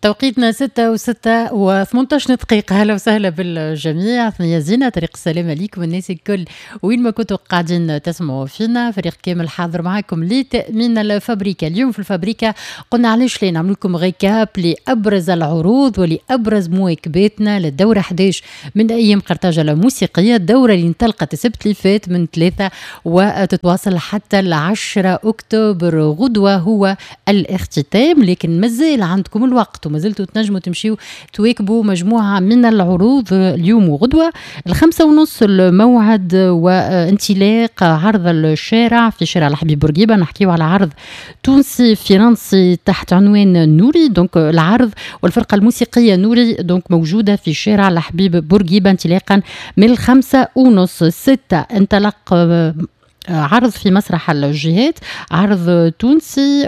توقيتنا 6:06 و18 دقيقة. هلا وسهلا بالجميع، ثنية زينة، طريق السلامة ليكم الناس الكل وين ما كنتوا قاعدين تسمعوا فينا. فريق كامل حاضر معاكم لتأمين الفابريكا. اليوم في الفابريكا قلنا علاش لا نعمل لكم récap لأبرز العروض ولأبرز مواكباتنا للدورة 11 من أيام قرطاج الموسيقية، الدورة اللي انطلقت السبت اللي فات من 3 وتتواصل حتى 10 أكتوبر. غدوة هو الاختتام، لكن مازال عندكم الوقت وما زلتوا تنجموا تمشيوا تواكبوا مجموعة من العروض اليوم وغدوة. 5:30 الموعد وانطلاق عرض الشارع في شارع الحبيب بورقيبة. نحكيو على عرض تونسي فرنسي تحت عنوان نوري، donc العرض والفرقة الموسيقية نوري donc موجودة في شارع الحبيب بورقيبة انطلاقا من 5:30. 6 انطلق عرض في مسرح الجهات، عرض تونسي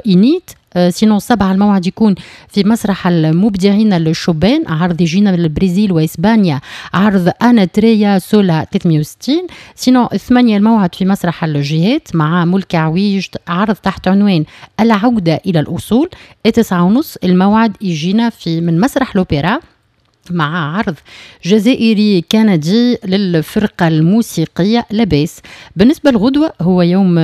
إنيت. sinon 7 الموعد يكون في مسرح المبدعين الشبان، عرض يجينا من البرازيل واسبانيا، عرض انا تريا سولا 360. sinon 8 الموعد في مسرح الجهات مع ملك عويج، عرض تحت عنوان العودة إلى الأصول. 9:30 الموعد يجينا من مسرح الأوبرا مع عرض جزائري كندي للفرقة الموسيقية لاباس. بالنسبة للغدوة هو يوم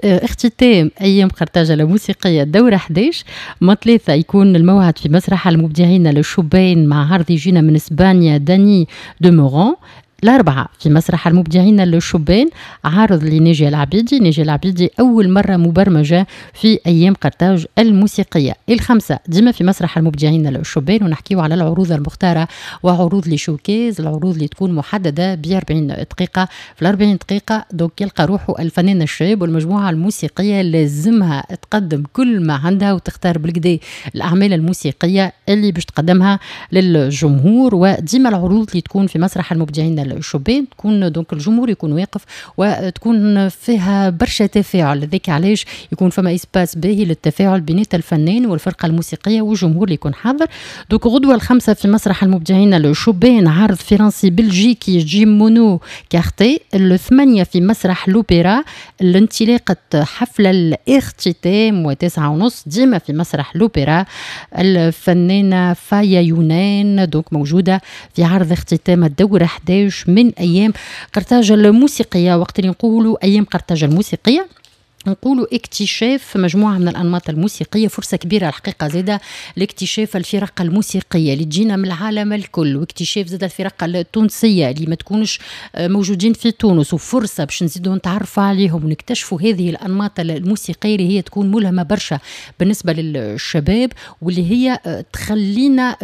اختتام أيام قرطاجة الموسيقية دورة 11، ما 3 يكون الموعد في مسرح المبدعين الشبان مع عرض يجينا من اسبانيا داني دو مورون. الأربعة في مسرح المبدعين الشبان عرض لناجية العبيدي، ناجية العبيدي أول مرة مبرمجة في أيام قرطاج الموسيقية. 5 ديما في مسرح المبدعين الشبان، ونحكيو على العروض المختارة وعروض les showcases، العروض اللي تكون محددة ب 40 دقيقة. في ال 40 دقيقة donc يلقى روحه الفنان الشاب والمجموعة الموسيقية لازمها تقدم كل ما عندها وتختار بالقدا الأعمال الموسيقية اللي باش تقدمها للجمهور. وديما العروض اللي تكون في مسرح المبدعين الشبان تكون donc الجمهور يكون واقف وتكون فيها برشا تفاعل، ذاك علاش يكون فما espace باهي للتفاعل بين الفنان والفرقة الموسيقية والجمهور اللي يكون حاضر. donc غدوه 5 في مسرح المبدعين الشبان عرض فرنسي بلجيكي جيم مونو quartet. 8 في مسرح لوبيرا الانطلاقة حفل الاختتام، و9:30 ديما في مسرح لوبيرا الفنانة فايا يونان donc موجودة في عرض اختتام الدورة 11 من أيام قرطاج الموسيقية. وقت اللي نقولوا أيام قرطاج الموسيقية نقولوا اكتشاف مجموعة من الأنماط الموسيقية، فرصة كبيرة الحقيقة زادة لاكتشاف الفرق الموسيقية اللي تجينا من العالم الكل، واكتشاف زادة الفرق التونسية اللي ما تكونش موجودين في تونس، وفرصة باش نزيدوا نتعرفوا عليهم ونكتشفوا هذه الأنماط الموسيقية اللي هي تكون ملهمة برشا بالنسبة للشباب، واللي هي تخلينا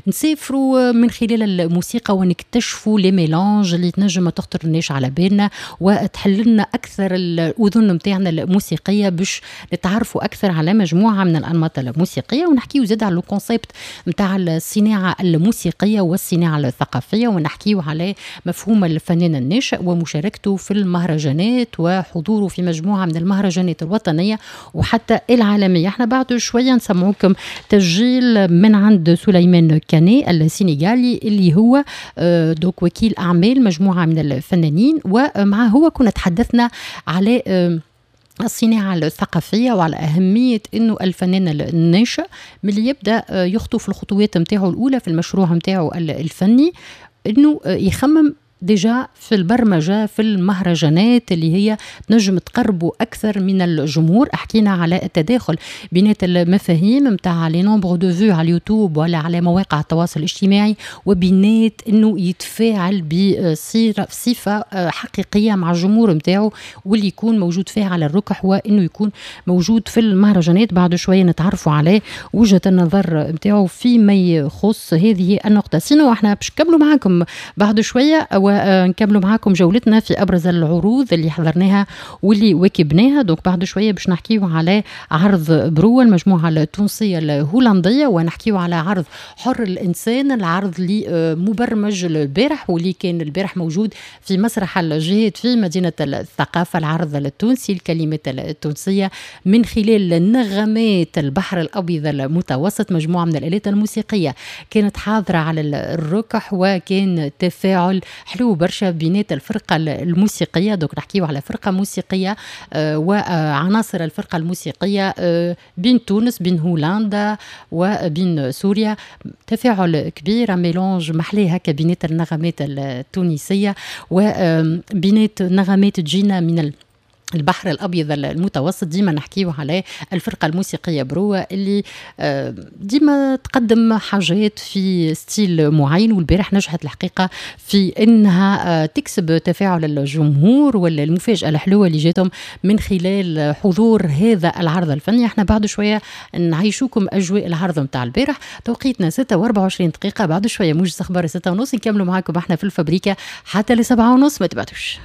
نسافروا من خلال الموسيقى ونكتشفوا les mélanges اللي تنجم ما تخطرناش على بالنا، وتحل لنا أكثر الأذن نتاعنا الموسيقية باش نتعرفوا اكثر على مجموعة من الانماط الموسيقيه. ونحكيو زاد على le concept نتاع الصناعة الموسيقية والصناعة الثقافيه، ونحكيو على مفهوم الفنان الناشئ ومشاركته في المهرجانات وحضوره في مجموعة من المهرجانات الوطنية وحتى العالميه. احنا بعد شوية نسمعوكم تسجيل من عند سليمان كاني السنغالي اللي هو donc وكيل اعمال مجموعة من الفنانين، ومعه هو كنا تحدثنا على الصناعة الثقافية وعلى أهمية أنه الفنان الناشئ من يبدأ يخطو في الخطوات نتاعو الأولى في المشروع نتاعو الفني أنه يخمم déjà في البرمجة في المهرجانات اللي هي تنجم تقربوا أكثر من الجمهور. حكينا على التداخل بين المفاهيم نتاع les nombres de vues على اليوتيوب ولا على مواقع التواصل الاجتماعي، وبينات انه يتفاعل بصفة حقيقية مع الجمهور نتاعو واللي يكون موجود فيها على الركح، وانه يكون موجود في المهرجانات. بعد شوية نتعرفوا على وجهة النظر نتاعو فيما يخص هذه النقطة. sinon احنا باش نكملوا معاكم بعد شوية ونكملوا معاكم جولتنا في ابرز العروض اللي حضرناها واللي واكبناها. donc بعد شوية باش نحكيو على عرض برو المجموعة التونسية الهولنديه، ونحكيو على عرض حر الانسان، العرض اللي مبرمج البارح واللي كان البارح موجود في مسرح الجهات في مدينة الثقافه، العرض التونسي، الكلمات التونسية من خلال نغمات البحر الابيض المتوسط. مجموعة من الالات الموسيقية كانت حاضره على الركح وكان تفاعل حلو. حلو برشا بينات الفرقة الموسيقيه. donc نحكيو على فرقه موسيقية وعناصر الفرقة الموسيقية بين تونس، بين هولندا وبين سوريا. تفاعل كبير، mélange محلاه هكا بينات النغمات التونسية وبينات نغمات تجينا من البحر الابيض المتوسط. ديما نحكيو على الفرقة الموسيقية بروه اللي ديما تقدم حاجات في style معين، والبارح نجحت الحقيقة في انها تكسب تفاعل الجمهور ولا المفاجاة الحلوة اللي جاتهم من خلال حضور هذا العرض الفني. احنا بعد شوية نعيشوكم اجواء العرض نتاع البارح. توقيتنا 6 و24 دقيقه، بعد شوية موجز اخبار 6:30، نكملوا معاكم احنا في الفابريكا حتى ل 7:30، ما تبعدوش.